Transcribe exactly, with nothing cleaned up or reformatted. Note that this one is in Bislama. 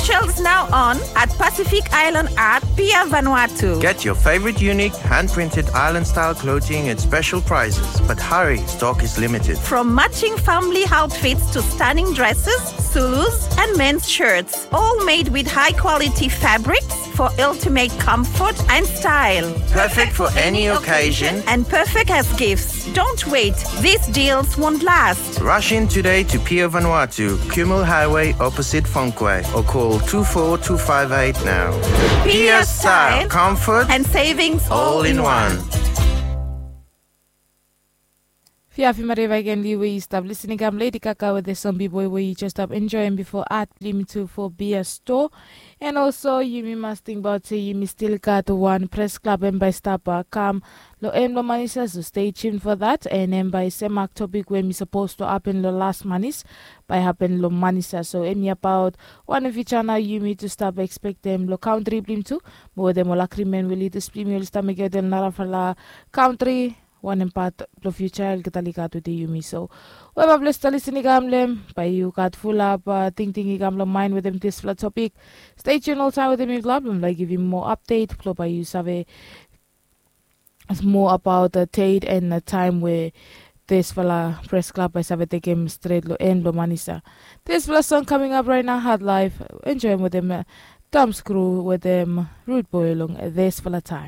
Shells now on at Pacific Island at Pier Vanuatu. Get your favorite unique hand-printed island-style clothing at special prices, but hurry, stock is limited. From matching family outfits to stunning dresses, Zulus, and men's shirts, all made with high-quality fabrics for ultimate comfort and style. Perfect for any occasion and perfect as gifts. Don't wait, these deals won't last. Rush in today to Pier Vanuatu, Kumul Highway, opposite Fonquay, or call two four two five eight now. Pier style, comfort, and savings all in one. Fia fimare vaken li we yu stap lisin i kam Lady Gaga wetem Zombie Boy we yu jes stap enjoem bifo at blim tu fo Bia Store. And also yumi mas tingbaot se yumi stil gat wan pres klab em bae stap kam long en blong Manisa, so stay tuned for that. And em bae semak topik we mi sapos tu hapen long las Manis bae hapen long Manisa. So em i abaot wanem fiuja nao yumi tu stap ekspektem long kantri blim tu, mo wetem ol agrimen we lidas blim yu oli stap mekem wetem narafala kantri, wanem pat blong fiuja olgeta oli gat wetem yumi. So we bae ples talisin i kam long em, bae yu gat fulap tingting i kam long maen wetem disfala topik. Stay tuned oltaem wetem mifala blong lae givim moa apdet blong bae yu save moa abaot dat deit and taem we disfala pres klab bae save tekem stret long en blong Manisa. Disfala song kaming ap raet nao, Hard Life, enjoem wetem Tom Screw wetem Rude Boy long disfala taem.